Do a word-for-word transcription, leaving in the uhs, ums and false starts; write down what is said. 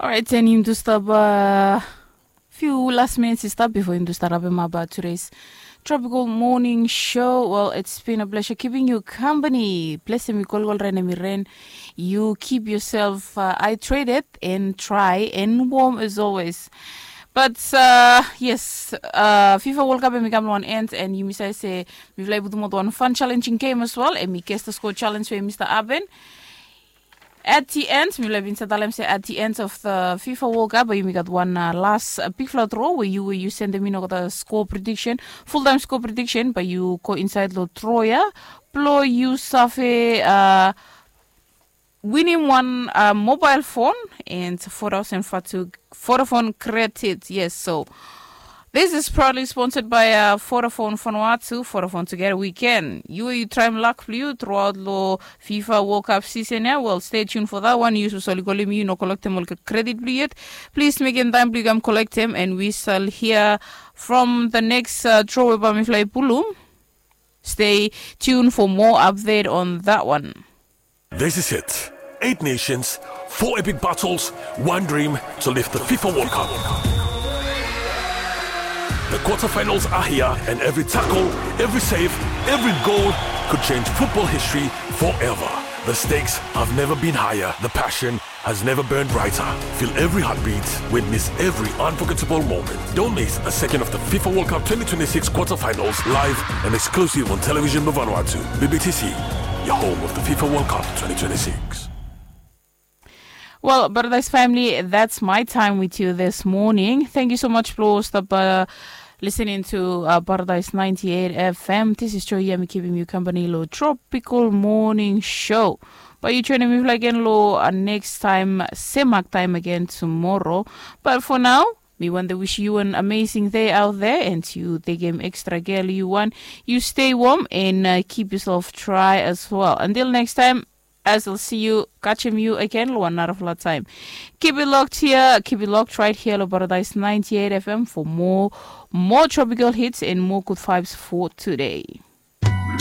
Orait, and yumi tu stap fiu las minits i stap bifo yumi tu stap rapim ap tudeis Tropical Morning Show. Well, it's been a pleasure keeping you company. Blessing mi kolkol, rain mi rain. You keep yourself uh, hydrated and dry and warm as always. But uh, yes, uh, FIFA World Cup em i kam long wan end, and yumi save se mifala i putum wan fun challenging game as well. Em i guess the score challenge we mista Aben. At the end, mifala bin save talem se at the end of the FIFA World Cup, bae yumi gat wan uh, las uh, bigfala draw we yu we yu sendem in olgeta score prediction, full time score prediction, bae yu go inside lo draw ya. Blo yu save uh, winim wan uh, mobile phone and four thousand Vodafone credit. Yes, so this is proudly sponsored by uh, Vodafone Vanuatu. Vodafone, together we can. Yu yu traem luck blo yu throughout lo FIFA World Cup season ya. Well, stay tuned for that one. Yu soli kolim yu no kolektem ol credit blo yu yet. Please mekem taem blo yu kam kolektem, and we shall hear from the next uh, draw we bae mifala i pulum. Stay tuned for more update on that one. This is it. Eight nations, four epic battles, one dream to lift the FIFA World Cup. The quarterfinals are here, and every tackle, every save, every goal could change football history forever. The stakes have never been higher. The passion has never burned brighter. Feel every heartbeat, witness every unforgettable moment. Don't miss a second of the FIFA World Cup twenty twenty-six quarterfinals, live and exclusive on Television Vanuatu, B B T C, your home of the FIFA World Cup twenty twenty-six. Well, Paradise family, that's my time with you this morning. Thank you so much blo stap uh, listening to uh, Paradise ninety-eight F M. This is Joy Yami keeping you company lo Tropical Morning Show. Bae yu joinim mifala again lo uh, next time, same mark time again tomorrow. But for now, mi wantem wish yu an amazing day out there, and yu tekem extra care lo yu wan. Yu stay warm and uh, keep yourself dry as well. Until next time, as I'll see you, catchim yu again lo wan narafala taem. Keep it locked here, keep it locked right here lo Paradise ninety-eight F M for more, more tropical hits and more good vibes for today.